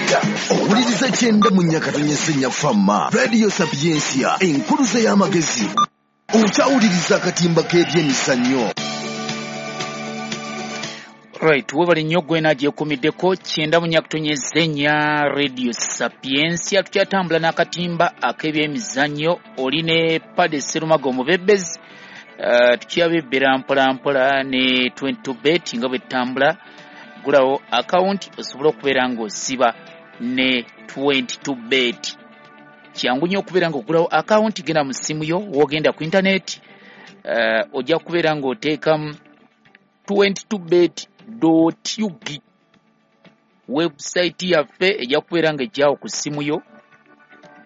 Owuliriza 94.4 Fama Radio Sapientia, enkuluze y'amagezi. Okyawuliriza akatimba k'ebyemizannyo. Right, webale nnyo gwena gyekumiddeko 94.4 Radio Sapientia. Tukyatambula n'akatimba ak'ebyemizannyo. Oli ne Pade Serumaga omubebezi. Tukyabebbera mpola mpola ne 22 bet nga bwe tutambula. Gulawo akawunti osobola okubeera ng'osiba ne 22 bet. Kyangu nnyo okubeera ng'ogulawo akawunti. Genda mu ssimu yo, w'ogenda ku intaneti, ojja kubeera ng'oteekamu 22bet.ug. Website yaffe ejja kubeera ng'ejjawo ku ssimu yo.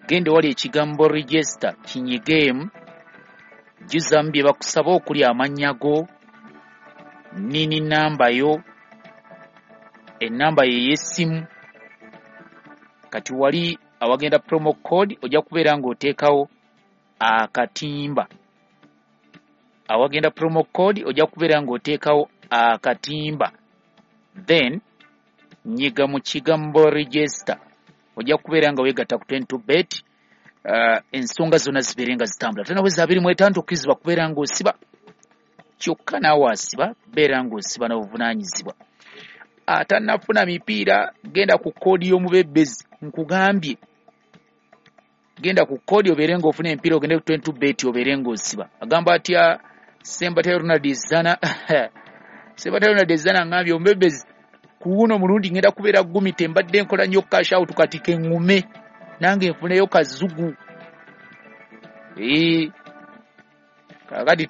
Genda wali ekigambo register, kinyigeemu, jjuzamu bye bakusaba okuli amannya go, nini namba yo, ennamba ye ey'essimu. Kati wali awagenda promo code ojja kubeera ng'oteekawo akatimba. Awagenda promo code ojja kubeera ng'oteekawo akatimba, then nyiga mu kigambo register, ojja kubeera nga weegatta ku 22 bet. Ensonga zonna zibeere nga zitambula. Tonaweza 25 okkirizibwa kubeera ng'osiba, kyokka naawe asiba beera ng'osiba n'obuvunaanyizibwa. Atannafuna mipiira genda ku koodi y'omubebezi, nkugambye genda ku koodi obeere ng'ofuna emipiira, ogende ku 22 bet obeere ng'osiba. Agamba atya Ssembatya Ronald Zana? Ssembatya Ronald Zana ngambye omubebezi ku guno omulundi ngenda kubeera gumite, mbadde nkola nnyo cash out, kati keŋŋume nange nfuneyo kazugu. Kaakati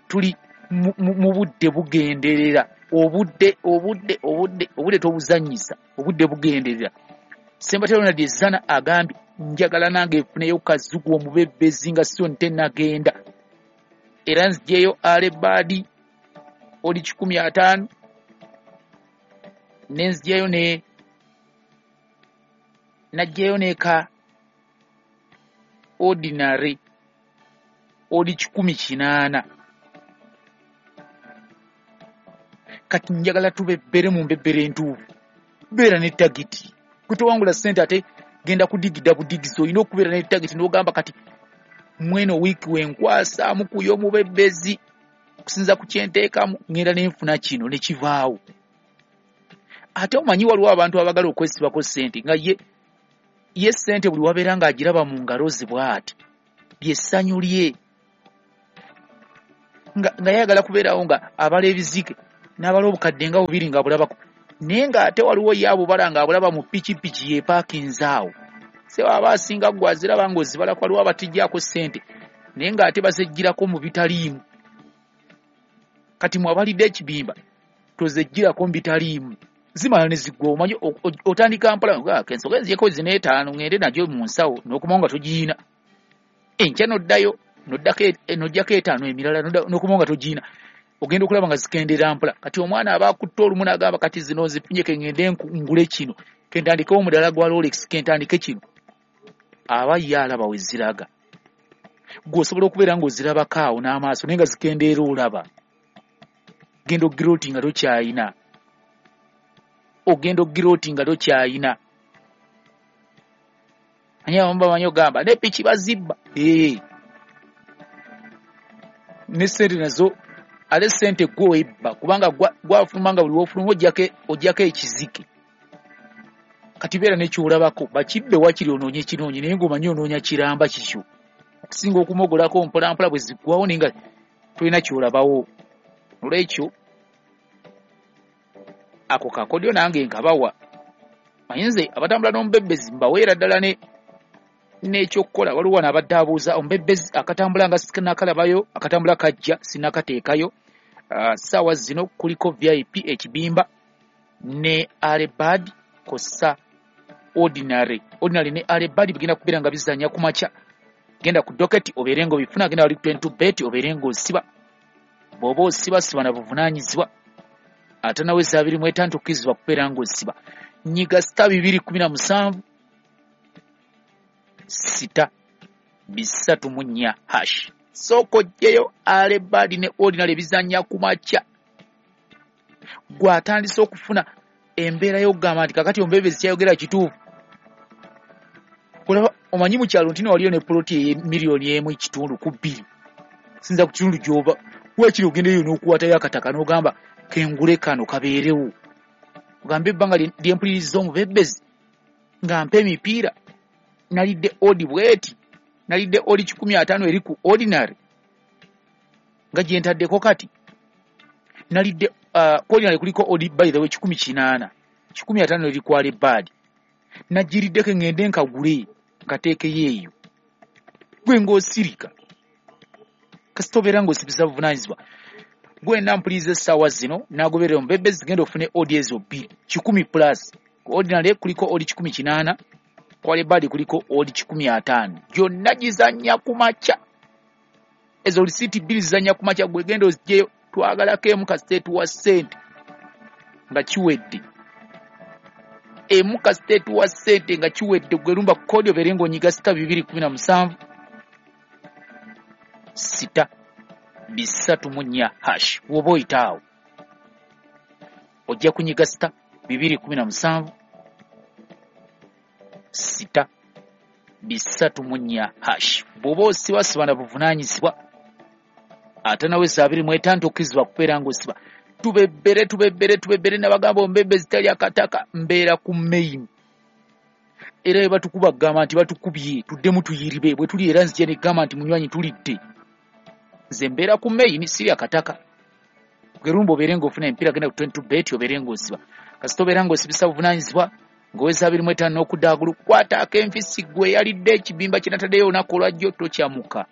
tuli mu budde bugenderera, obudde obudde obudde obudde tobuzannyisa, obudde bugenderera. Ssembatya Ronald Zana agambye njagala nange nfuneyo kazugu omubebezi nga sio ntennagenda, era nziggyeyo alebaadi oli 150, nenzigyayo ne naggyayo neka ordinary oli 180. Kati njagala tubebbere mu mbebbere entuufu, beera ne tagiti. Kutowangula ssente ate genda kudigida budigizi, olina okubeera ne tagiti n'ogamba kati mweno wiiki wenkwasaamu ku y'omubebbezi okusinza ku kyenteekamu ngenda nenfuna kino ne kivaawo. Ate omanyi waliwo abantu abagala okwesibako ssente nga ye ssente buli wabeera ng'agiraba mu ngalo ze bw'ati ly'essanyu lye, nga yayagala kubeerawo nga abala ebizike n'abala obukadde nga bubiri nga bulabako, naye ng'ate waliwo ye abubala ng'abulaba mu pikipiki yeepaakinze awo. Se aba asinga ggwe aziraba ng'ozibalako, waliwo abatijjaako ssente naye ng'ate bazeggyirako mu bitaliimu. Kati mwabalidde ekibimba tozeggyirako mu bitaliimu, zimala ne ziggwa. Omanyi otandika mpola, ensonga nzijeko zino 5 ngende nagyo mu nsawo n'okomawo nga togiina. Enkya n'oddayo n'oggyako 5 emirala n'okomawo nga togiina, ogenda okulaba nga zikendeera mpola. Kati omwana aba akutte olumu n'agamba kati zino nzifunye ke ngende ngule kino, ke ntandikewo omudala gwa Rolex, ke ntandike kino. Aba ye alaba we ziraga. Ggwe osobola okubeera ng'ozirabako awo n'amaaso naye nga zikendeera olaba. Genda ogira oti nga tokyayina, ogenda ogira oti nga tokyayina. Ani abamu bamanyi ogamba ne piki bazibba, ne ssente nazo ate ssente gwe webba, kubanga gwafuluma nga buli w'ofuluma oggyako ekizike. Kati beera nekyolabako, bakibbe wakiri onoonye kinoonye naye ng'omanyi onoonya kiramba kikyo, okusinga okumogolako mpola mpola bwe ziggwawo naye nga tolina kyolabawo. Olwekyo ako kakodyo nange nkabawa. Manyi nze abatambula n'omubebbezi mbaweera ddala n'ekyokukola. Waliwo wano abadde abuuza omubebbezi akatambula nga sinakalabayo, akatambula kajja sinakateekayo. Ssaawa zino kuliko VIP ekibimba ne alebad kossa ordinary. Ordinary ne alebad bigenda kubeera nga bizannya ku makya. Genda ku docket obeere ng'obifuna, genda wali ku 22 bet obeere ng'osiba. Bw'oba osiba siba na buvunaanyizibwa. Ate naweza 25 okkirizibwa kubeera ng'osiba. Nyiga star 217 6 304 hash. Sooka oggyeyo alebad ne ordinary bizannya ku makya. Gwe atandise okufuna Embeera y'okugamba nti kakati omubebezi kyayogera kituufu. Olaba omanyi mu kyalo nti waliyo ne poloti 1.5 million ku 2, sinza ku kitundu gy'oba. Wakiri ogendeyo n'okukwatayo akataka n'ogamba kengule kano kabeerewo, ogambe ebbanga lyempuliriza omubebezi nga mpa emipiira nalidde odd bweti, nalidde odd 150 eri ku ordinary nga gye ntaddeko kati nalidde ordinary kuliko odd, by the way, 180, 150 eri ku early bird. Nagiriddeko ŋŋende nkagule nkateekeyo eyo. Gwe ng'osirika kasita obeera ng'osibisa buvunaanyizibwa. Gwe nampuliriza essaawa zino n'agoberera omubebezi, genda ofune odd ezo 2 100 plus. Ku ordinary kuliko odd 180, ku early bird kuliko odd 150, gyonna gizannya ku makya. Ezo risiiti 2 zizannya ku makya. Gwe genda ozigyeyo, twagalako emu kasita etuwa ssente nga kiwedde, emu kasita etuwa ssente nga kiwedde. Gwe lumba code obeere ng'onyiga *217 *234 hash. Woba oyita awo ojja kunyiga *217 *234 hash. Bw'oba osiba, siba na buvunaanyizibwa. Ate nawe 25 tokkirizibwa kubeera ng'osiba. Tubebbere, tubebbere, tubebbere. Nabagamba omubebezi tali akataka, mbeera ku main. Era bwe batukuba kugamba nti batukubye, tuddemu tuyiribe bwe tuli. Era nzija negamba nti munywanyi tulidde. Nze mbeera ku main, siri akataka. Gerumba obeere ng'ofuna emipiira, genda ku 22 bet obeere ng'osiba. Kasita obeera ng'osibisa buvunaanyizibwa ng'oweza 25 n'okudda waggulu, kwata akenfisi. Gwe yalidde ekibimba kye nataddeyo olunaku olwajjo, tokyamuka.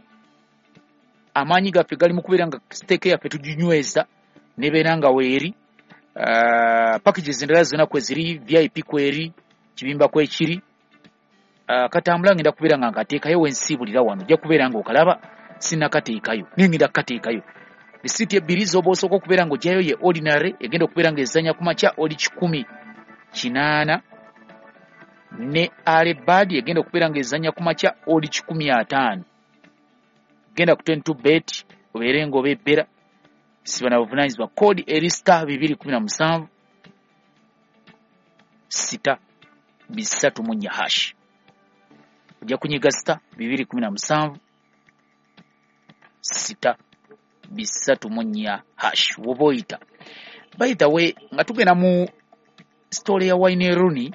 Amaanyi gaffe gali mu kubeera nga stake yaffe tuginyweza nebeera nga weeri. Packages endala zonna kweziri, VIP kweri, kibimba kwekiri. Katambula ngenda kubeera nga nkateekayo wensiibulira wano, ojja kubeera nga okalaba. Sinnakateekayo naye ngenda kukateekayo. Risiiti ebbiri z'oba osooka okubeera ng'oggyayo ye ordinary egenda okubeera ng'ezannya ku makya odd 180, ne early bird egenda okubeera ng'ezannya ku makya odd 150. Genda ku 22 bet obeere ng'obebbera, siba na buvunaanyizibwa. Code eri *217 *234 hash. Ojja kunyiga *217 *234 hash woba oyita. By the way, nga tugenda mu story ya Wayne Rooney,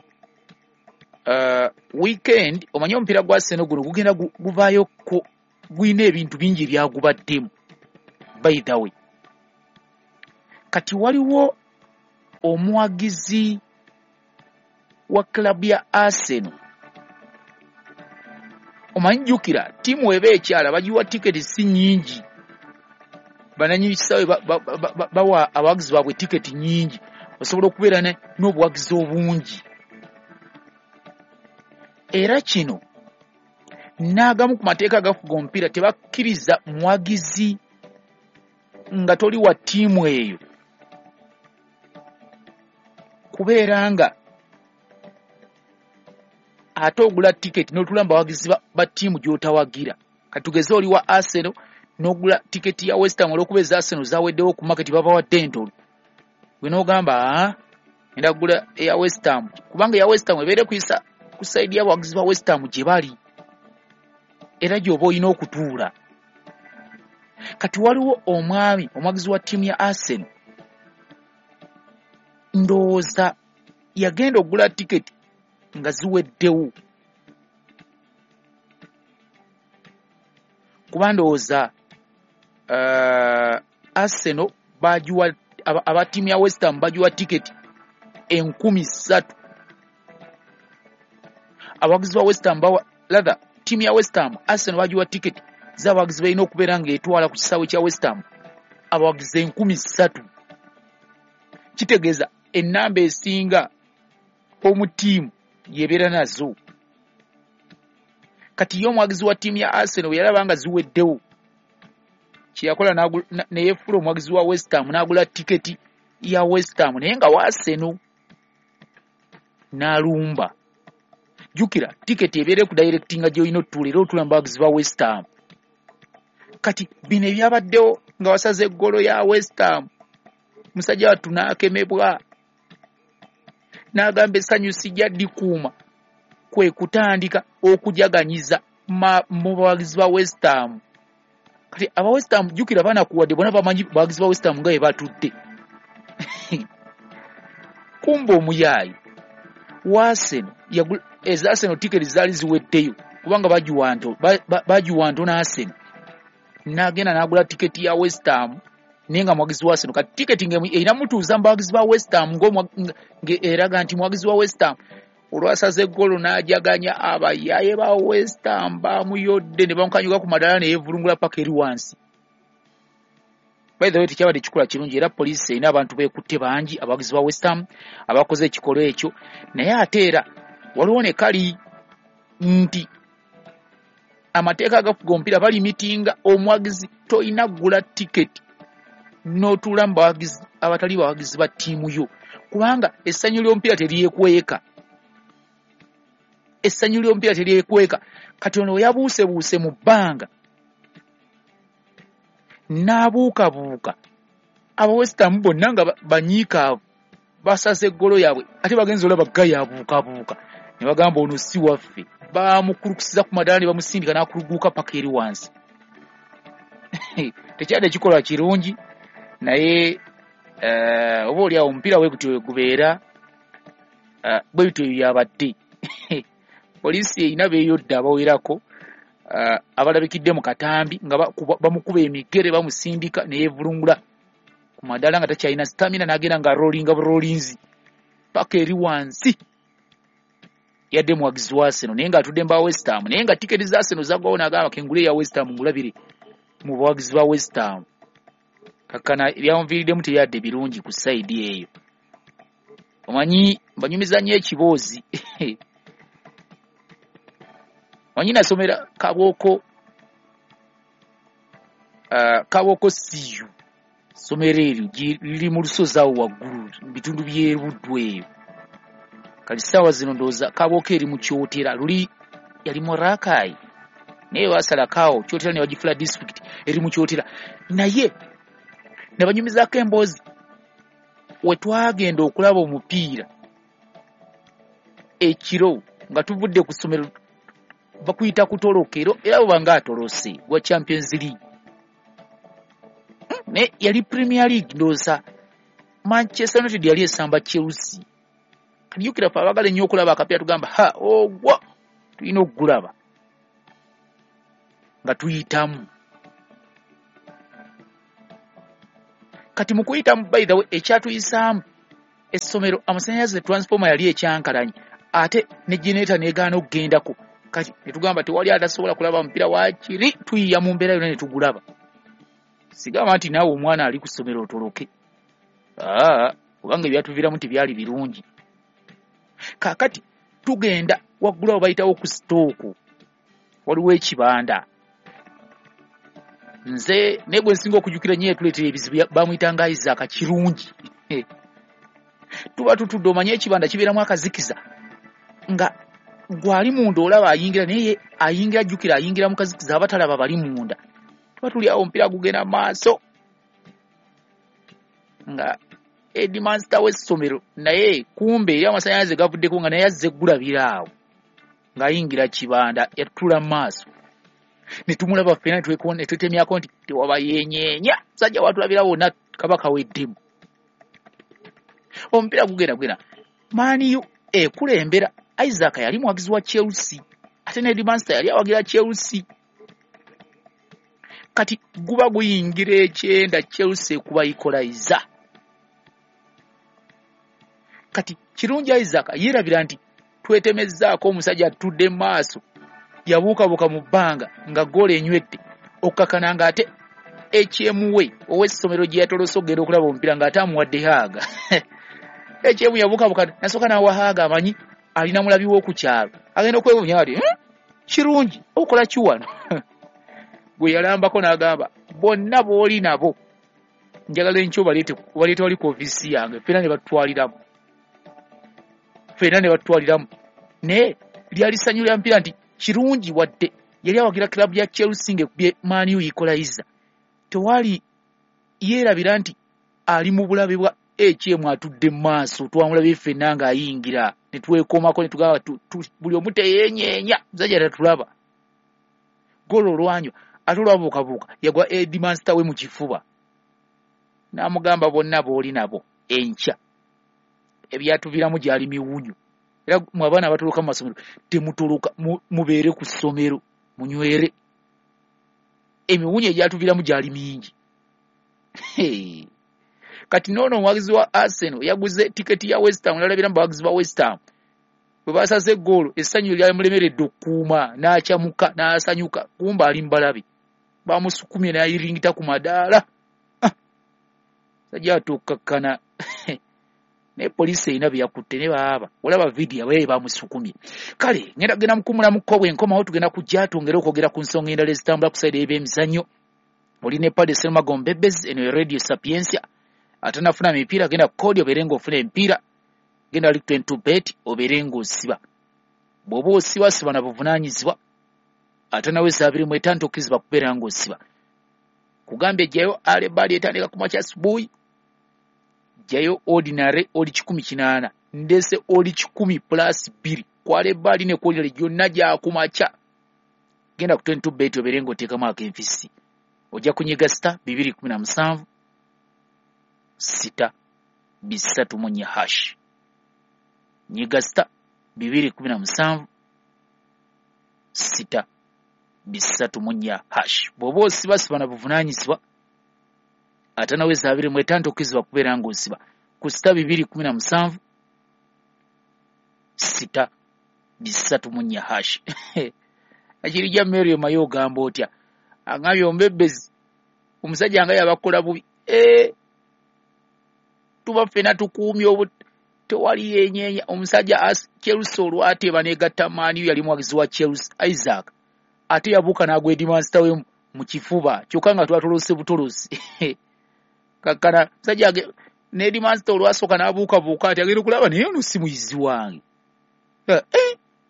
weekend omanyi omupiira gwa Arsenal guno gugenda guvaayo gulina ebintu bingi ebyagubaddemu. By the way, kati waliwo omuwagizi wa club ya Arsenal. Omanyi jjukira ttiimu eba ekyala bagiwa tiketi si nnyingi, bananyini kisaawe bawa abawagizi baabwe tiketi nnyingi osobola okubeera n'obuwagizi obungi. Era kino n'agamu ku mateeka agafuga omupiira tebakkiriza muwagizi nga toli wa ttiimu eyo kubeera nga ate ogula tiketi n'otuula mu bawagizi ba ttiimu gy'otawagira. Katugeze oli wa Arsenal n'ogula tiketi ya West Ham, olw'okuba eza Arsenal zaweddewo ku market babawadde entono, gwe n'ogamba aa ngenda kugula eya West Ham kubanga eya West Ham ebeere kuyisa ku side y'abawagizi ba West Ham gye bali era gy'oba olina okutuula. Kati waliwo omwami omuwagizi wa ttiimu ya Arsenal, ndowooza yagenda okugula tiketi nga ziweddewo, kuba ndowooza Arsenal bagiwa aba ttiimu ya West Ham bagiwa tiketi 3,000. Abawagizi ba West Ham bawa, rather ttiimu ya West Ham, Arsenal bagiwa tiketi z'abawagizi balina okubeera ng'etwala ku kisaawe kya West Ham abawagizi 3,000. Kitegeeza ennamba esinga omu ttiimu yebeera nazo. Kati ye omuwagizi wa ttiimu ya Arsenal bwe yalaba nga ziweddewo, kyeyakola ne yeefuula omuwagizi wa West Ham n'agula tiketi ya West Ham naye nga wa Arsenal n'alumba. Jjukira tiketi ebeere ku directinga gy'olina otutuula era otuula mu bawagizi ba West Ham. Kati bino ebyabaddewo nga wasaze eggolo ya West Ham, musajja wattu n'akemebwa. N'agamba essanyu sijja ddikuuma, kwe kutandika okujaganyiza mu bawagizi ba West Ham. Kati aba West Ham jjukira banakuwadde bonna bamanyi bawagizi ba West Ham nga bwe batudde. Kumba omuyaayi wa Arsenal eza Arsenal tiketi zaali ziweddeyo kubanga bagiwa ntono Arsenal. N'agenda n'agula tiketi ya West Ham naye nga muwagizi wa Arsenal. Kati tiketi erina mutuuza mu bawagizi ba West Ham ng'eraga nti muwagizi wa West Ham. Olwasaze eggolo n'ajaganya, abayaaye ba West Ham bamuyodde ne bamukanyuga ku madaala ne yeevulungula paka eri wansi. By the way, tekyabadde kikola kirungi era poliisi erina abantu beekutte bangi abawagizi ba West Ham abakoze ekikolwa ekyo. Naye ate era waliwo ne kali nti amateeka agafuga omupiira balimitinga omuwagizi toyina kugula tiketi n'otuula mu bawagizi abatali bawagizi ba ttiimu yo, kubanga essanyu ly'omupiira teryekweka. Essanyu ly'omupiira teryekweka. Kati ono yabuusebuuse mu bbanga n'abuukabuuka, aba West Ham bonna nga banyiikaavu basaze eggolo yaabwe, ate bagenze olaba Guy abuukabuuka ne bagamba ono si waffe. Bamukulukusiza ku madaala ne bamusindika n'akuluguuka paka eri wansi. Tekyadde kikolwa kirungi, naye oba oli awo omupiira bwe gutyo bwe gubeera, bwe bityo byabadde. Poliisi erina beeyodde abawerako abalabikidde mu katambi nga bamukuba emigere bamusindika ne yeevulungula ku madaala nga takyalina stamina, n'agenda nga rollinga burolinzi paka eri wansi. Yadde muwagizi wa Arsenal naye ng'atudde mu ba West Ham, naye nga tiketi za Arsenal zaggwawo n'agamba kengule eya West Ham ngulabire mu bawagizi ba West Ham. Kakkana ebyamuviiriddemu tebyadde birungi ku sayidi eyo. Omanyi mbanyumiza nnyo ekiboozi. Omanyi nasomera Kabooko, Kabooko CU, ssomero eryo liri mu lusozi awo waggulu mu bitundu by'e Buddu eyo. Kati ssaawa zino ndowooza Kabooko eri mu Kyotera, luli yali mu Rakai naye baasalako awo Kyotera ne bagifula disitulikiti eri mu Kyotera. Naye ne banyumizaako emboozi we twagenda okulaba omupiira ekiro nga tuvudde ku ssomero, bakuyita kutolokero era bwe nga atolose gwa Champions League, naye yali Premier League ndowooza Manchester United yali esamba Chelsea. Kati jjukira ffe abaagala ennyo okulaba akapiira tugamba ha ogwo tulina okugulaba nga tuyitamu. Kati mu kuyitamu, by the way, ekyatuyisaamu essomero amasannyalaze transformer yali ekyankalanye ate ne generator n'egaana okugendako. Kati ne tugamba tewali atasobola kulaba mupiira, waakiri tuyiya mu mbeera yonna ne tugulaba. Sigamba nti naawe omwana ali ku ssomero otoloke, kubanga ebyatuviiramu tebyali birungi. Kaakati tugenda waggulu awo bayitawo ku sitooko, waliwo ekibanda. Nze naye gwe nsinga okujjukira nnyo yatuleetera ebizibu bamuyitanga Isaac Kirungi. Tuba tutudde, omanye ekibanda kibeeramu akazikiza nga gwali munda olaba ayingira, naye ayingira jjukira ayingira mu kazikiza aba talaba bali munda. Tuba tuli awo omupiira gugenda maaso nga headmaster w'essomero naye kumbe eri amasannyalaze gavuddeko nga naye azze eggulabira awo ng'ayingira kibanda yatutula mu maaso ne tumulaba ffenna ne twetemyako nti tewaba yeenyeenya, musajja watulabira wonna kaba kaweddemu. Omupiira gugenda Man U ekulembera. Isaac yali muwagizi wa Chelsea ate ne headmaster yali awagira Chelsea. Kati guba guyingira ekyenda Chelsea ekuba equalizer. Kati Kirungi Isaac yeerabira nti twetemezzaako omusajja atudde mu maaso, yabuukabuuka mu bbanga nga ggoolo enywedde, okukakana ng'ate ekyemuwe ow'essomero gye yatolose okugenda okulaba omupiira ng'ate amuwadde haaga. Ekyemu yabuukabuuka nasooka n'awa haaga, amanyi alina mulabi w'oku kyalo, agenda okwewuunya ati Kirungi okola ki wano? Gwe yalambako n'agamba bonna b'oli nabo njagala enkya obaleete wali ku ofiisi yange, ffenna ne batutwaliramu, ffenna ne batutwaliramu. Naye lyali ssanyu lya mupiira nti Kirungi wadde yali awagira club ya Chelsea ng'ekubye Man U equalizer, tewali yeerabira nti ali mu bulabe bwa HM atudde mu maaso, twamulabye ffenna ng'ayingira ne twekomako ne tugamba buli omu teyeenyeenya, musajja tatulaba. Golo olwanywa ate olwabuukabuuka yagwa headmaster we mu kifuba n'amugamba bonna b'oli nabo enkya ebyatuviramu gyali miwunyo. Era mwe abaana abatoloka mu masomero temutoloka, mubeere ku ssomero munywere, emiwunyo egyatuviramu gyali mingi. Kati noono omuwagizi wa Arsenal yaguze tiketi ya West Ham, nalabira mu bawagizi ba West Ham bwe basaze eggoolo essanyu lyamulemeredde okukuuma n'akyamuka n'asanyuka, kumba ali mbalabe bamusukumye n'ayiringita ku madaala. Sajja atuukakkana naye poliisi erina bye yakutte ne baaba olaba vidiyo abaye bamusukumye. Kale ngenda kugenda mukuumulamuko bwe nkomawo tugenda kujja twongere okwogera ku nsonga endala ezitambula ku sayidi ey'ebyemizannyo. Oli ne Padre Serumago Mbebezi, eno ye Radio Sapientia. Atanafuna mipiira genda ku kodi obeere ng'ofuna emipiira, genda ali 22 bet obeere ng'osiba. Bw'oba osiba siba na buvunaanyizibwa, ate nawe 25 tokkirizibwa kubeera ng'osiba. Kugambye jjayo alebaali etandika ku makya asubuhi, jjayo ordinary oli 180, ndese oli 100 plus 2 ku alebaali ne ku ordinary gyonna gyakumakya. Genda ku 22 bet obeere ng'oteekamu akenfisi. Ojja kunyiga star 217 6 3 hash. Nyiga star 217 6 3 hash. Bw'oba osiba siba na buvunaanyizibwa, ate nawe 25 tokkirizibwa kubeera ng'osiba ku star 217 6 3 hash. Akirijja Mary Mayo ogamba otya? Angambye ombebezi omusajja nga yabakola bubi. Tuba ffenna tukuumye tewali yenyeenya. Omusajja Chelsea olwateeba n'egatta Man U, yali muwagizi wa Chelsea Isaac, ate yabuuka n'agwa headmaster we mu kifuba kyokka nga twatolose butolosi. Kakkana musajja ne headmaster olwasooka n'abuukabuuka ati agenda okulaba naye ono si muyizi wange.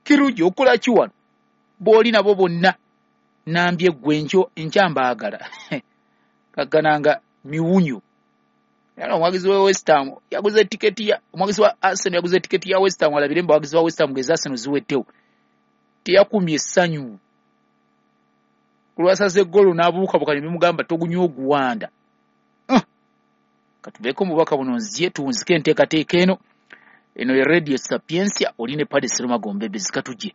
Kirungi okola ki wano? B'oli nabo bonna nambye ggwe enkya mbaagala. Kakkana nga miwunyo. Era omuwagizi wa West Ham yaguze tiketi ya omuwagizi wa Arsenal yaguze tiketi ya West Ham, alabire abawagizi ba West Ham ng'eza Arsenal ziwettewo. Teyakumye essanyu. Kulwasaze eggolo n'abuukabuuka ne bimugamba togunywa oguwanda. Katubeeko omubaka buno nzije tuwunzike enteekateeka eno. Eno ye Radio Sapientia, oli ne Padre Serumago Mbebezi, katujje.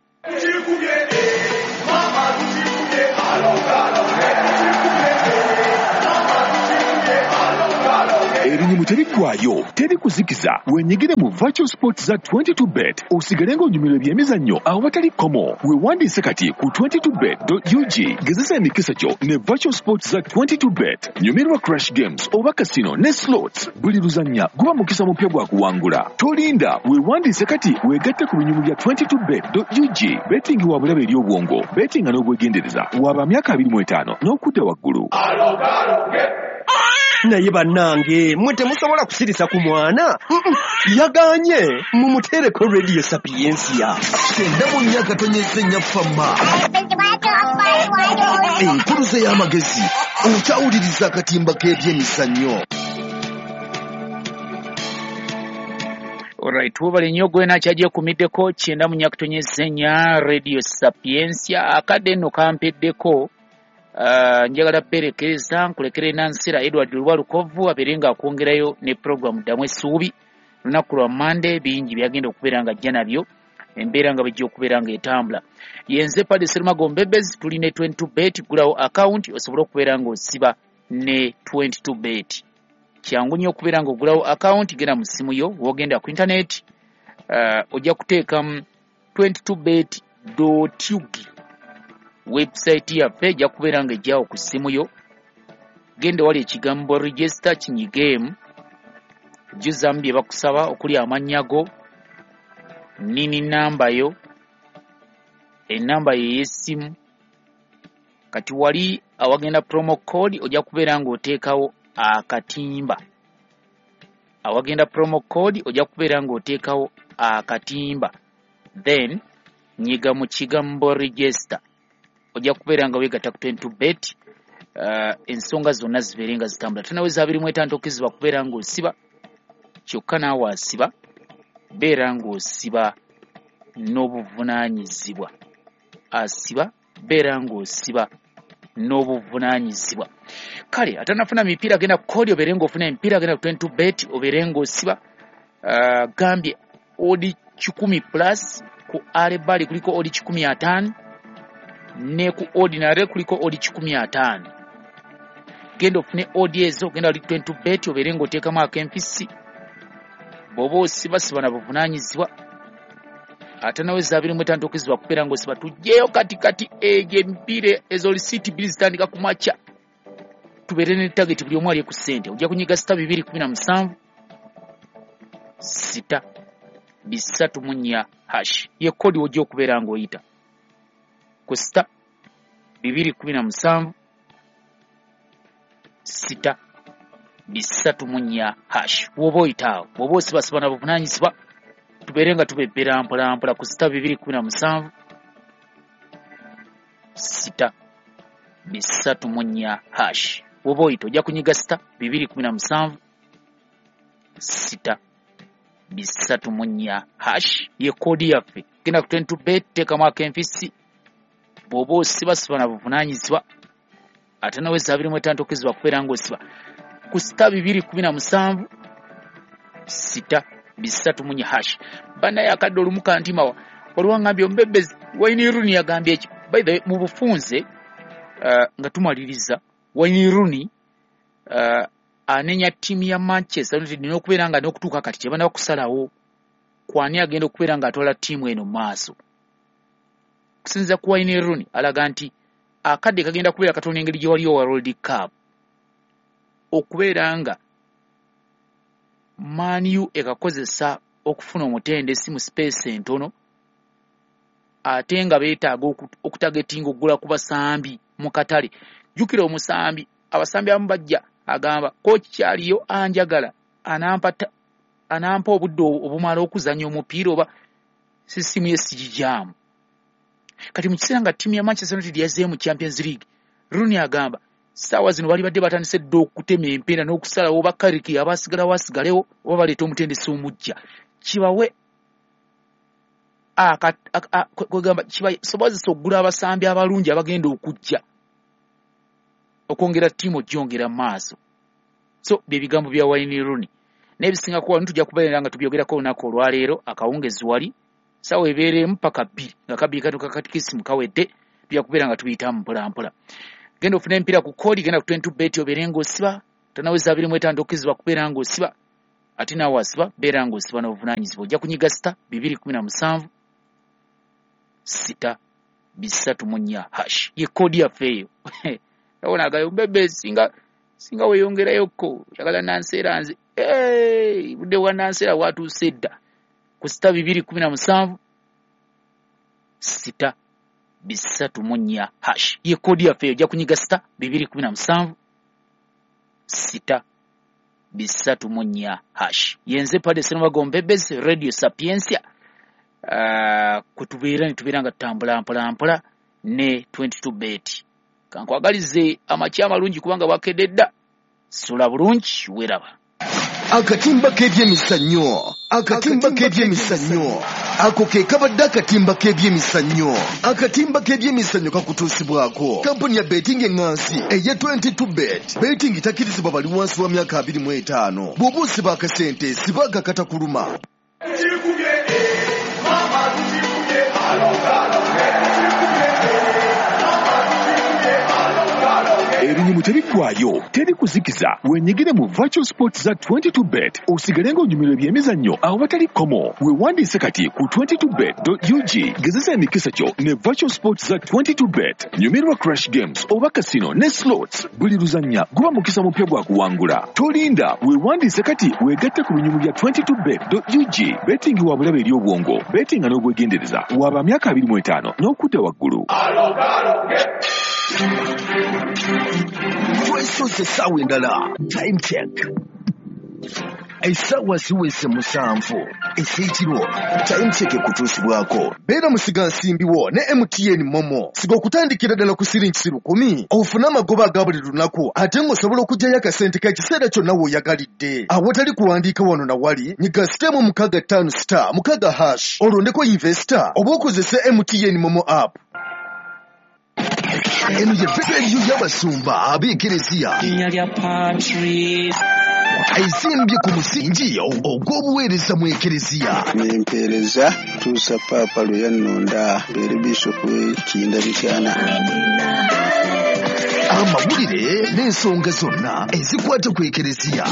Ebinyumu tebiggwayo, teri kuzikiza. Wenyigire mu virtual sports za 22bet osigale ng'onyumirwa ebyemizannyo awatali kkomo. Weewandiise kati ku 22bet.ug, gezesa emikisa gyo ne virtual sports za 22bet. Nyumirwa crash games oba casino ne slots. Buli luzannya guba mukisa mupya gwa kuwangula. Tolinda, weewandiise kati weegatte ku binyumu bya 22bet.ug. Betting wa bulabe eri obwongo, bettinga n'obwegendereza. Waba myaka 25 n'okudda waggulu. Naye bannange mwe temusobola kusirisa ku mwana. Yaganye mumuteereko Radio Sapientia. 94.4 Fama. Enkuluze y'amagezi okyawuliriza akatimba k'ebyemizannyo. Alright, webale nnyo gwe nakyajekumiddeko 94.4 Radio Sapientia. Akadde nno kampeddeko. Njagala perekereza nkulekere Nansira Edward Lwalukovu abeere nga akwongerayo ne program ddamu essuubi. Lunaku lwa Monday bingi byagenda okubeera nga ajja nabyo, embeera nga bwejja okubeera nga etambula. Yenze Padre Serumago Mbebezi, tuli ne 22bet, gulawo account osobole okubeera ng'osiba ne 22bet. Kyangu nnyo okubeera ng'ogulawo account, genda mu ssimu yo, w'ogenda ku internet, ojja kuteekamu 22bet.ug. Website yaffe ejja kubeera ng'ejjawo ku ssimu yo. Genda wali ekigambo register kinyigeemu, jjuzaamu bye bakusaba okuli amannya go, nini namba yo, enamba yo ey'essimu. Kati wali awagenda promo code ojja kubeera ng'oteekawo akatimba. Awagenda promo code ojja kubeera ng'oteekawo akatimba, then nyiga mu kigambo register, ojja kubeera nga weegatta ku 22bet. Ensonga zonna zibeere nga zitambula. Tunaweza 25 tokkirizibwa kubeera ng'osiba. Kyokka naawe asiba, beera ng'osiba n'obuvunaanyizibwa. Asiba, beera ng'osiba n'obuvunaanyizibwa. Kale atanafuna mipiira genda kodi obeere ng'ofuna emipiira, genda ku 22 bet obeere ng'osiba. Gambye odi 100 plus ku alebali kuliko odi 150 ne ku ordinary kuliko odi 150. Genda ofune odi ezo, genda ali 22 bet obeere ng'oteekamu ak'empisi. Bw'oba osiba siba na buvunaanyizibwa. Ate nawe 25 okizibwa kubeera ng'osiba. Tujjeyo kati kati egyo emipiira ezo lisiiti 2 zitandika ku makya, tubeere ne target buli omu alye ku ssente. Ojja kunyiga sita 217 6 304 hash ye kodi ojja okubeera ng'oyita ku sita 217 6 304 hash. Bw'oba oyita awo, bw'oba osibasiba na buvunaanyizibwa, tubeere nga tubebbera mpola mpola ku sita 217 6 304 hash. Bw'oba oyita ojja kunyiga sita 217 6 304 hash ye kodi yaffe. Genda ku 22 bet, teekamu ak'empisi. Bw'oba osibasiba na buvunaanyizibwa. Ate nawe 25 okizibwa kubeera ng'osiba ku sita 217 6 304 hash. Bannaye akadde olumu kantimawa waliwo angambye omubebezi Wayne Rooney yagambye eki. By the way, mu bufunze nga tumaliriza, Wayne Rooney anenya ttiimu ya Manchester United n'okubeera nga n'okutuuka kati tebannaba kusalawo kwani agenda okubeera ng'atwala ttiimu eno mu maaso. Okusinziira ku Wayne Rooney alaga nti akadde kagenda kubeera katono engeri gye waliyo World Cup okubeera nga Man U ekakozesa okufuna omutendesi mu space entono, ate nga beetaaga okutagetinga okugula ku basambi mu katale. Jjukira omusambi, abasambi abamu bajja agamba kooki kyaliyo anjagala anampa obudde obumala okuzannya omupiira oba sisimu ye sigijaamu. Kati mu kiseera nga ttiimu ya Manchester United yazzeeyo mu Champions League, Rooney agamba ssaawa zino bali badde batandise dda okutema empeera n'okusalawo oba Carrick aba asigalawo asigalewo oba baleeta omutendesi omuggya, kibawe kwegamba kibasobozesa okugula abasambi abalungi abagenda okujja okwongera ttiimu ogyongera mu maaso. So bye bigambo bya Wayne Rooney. N'ebisingako wano tujja kubeera nga tubyogerako olunaku olwaleero akawungezi wali ssaawa ebeeremu paka 2 nga kabiri katuuka katikisimu kawedde, tujja kubeera nga tubiyitamu mpola mpola. Genda ofune emipiira ku kodi, genda ku 22 bet obeere ng'osiba. Tanaweza 25 okizibwa kubeera ng'osiba. Ate naawe asiba, beera ng'osiba n'obuvunaanyizibwa. Ojja kunyiga sita 217 6 304 hash ye kodi yaffe eyo. Abona agayo bebe singa weeyongerayokko oyagala nanseera nze budde bwa nanseera bwatuuse dda ku sita 217 6 304 hash ye kodi yaffe eyo. Ojja kunyiga sita 217 6 304 hash. Yenze Pade Serumago Mbebezi, Radio Sapientia. Kutubeera nitubeera nga tutambula mpola mpola ne 22 bet. Kankwagalize amakya amalungi kubanga bwakedde dda. Sula bulungi, weeraba. Akatimba k'ebyemizannyo, akatimba k'ebyemizannyo, ako ke kabadde akatimba k'ebyemizannyo. Akatimba k'ebyemizannyo kakutuusibwako kampuni ya betting eŋŋansi eya 22 bet. Betting takkirizibwa bali wansi wa myaka 25. Bw'oba osiba akasente siba akakatakuluma. Ebinyumu tebiggwayo, teri kuzikiza. Wenyigire mu virtual sports za 22 bet osigale ng'onyumirwa ebyemizannyo awatali kkomo. Weewandiise kati ku 22bet.ug. Gezesa emikisa gyo ne virtual sports za 22 bet. Nyumirwa crash games oba casino ne slots. Buli luzannya guba mukisa mupya gwa kuwangula. Tolinda, weewandiise kati weegatte ku binyumu bya 22bet.ug. Betting wa bulabe eri obwongo, bettinga n'obwegendereza. Waba myaka 25 n'okudda waggulu. Twesoose essaawa endala. Time check. Essaawa ziweze 7 ez'ekiro. Time Check ekutuusibwako. Beera musigansimbi wo ne MTN Momo. Siga okutandikira ddala ku siringi 1,000 ofune amagoba aga buli lunaku ate ng'osobola okuggyayo akasente k'ekiseera kyonna w'oyagalidde. Awatali kuwandiika wano na wali, nyiga *656*6# olondeko investor oba okozese MTN Momo app. Eno ye rediyo y'abasumba ab'ekereziya. Linnya lya Patrice. Ezimbye ku musingi ogw'obuweereza mu ekereziya. Nempeereza tuusa Paapa lwe yannonda mbeere bishopu w'e Mityana. Amawulire n'ensonga zonna ezikwata ku ekereziya.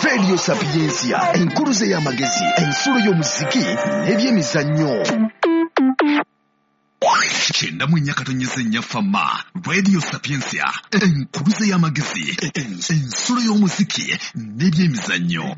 Radio Sapientia, enkuluze y'amagezi, ensulo y'omuziki n'ebyemizannyo. 94.4 Fama, Radio Sapientia, enkuluze y'amagezi, ensulo y'omuziki n'ebyemizannyo.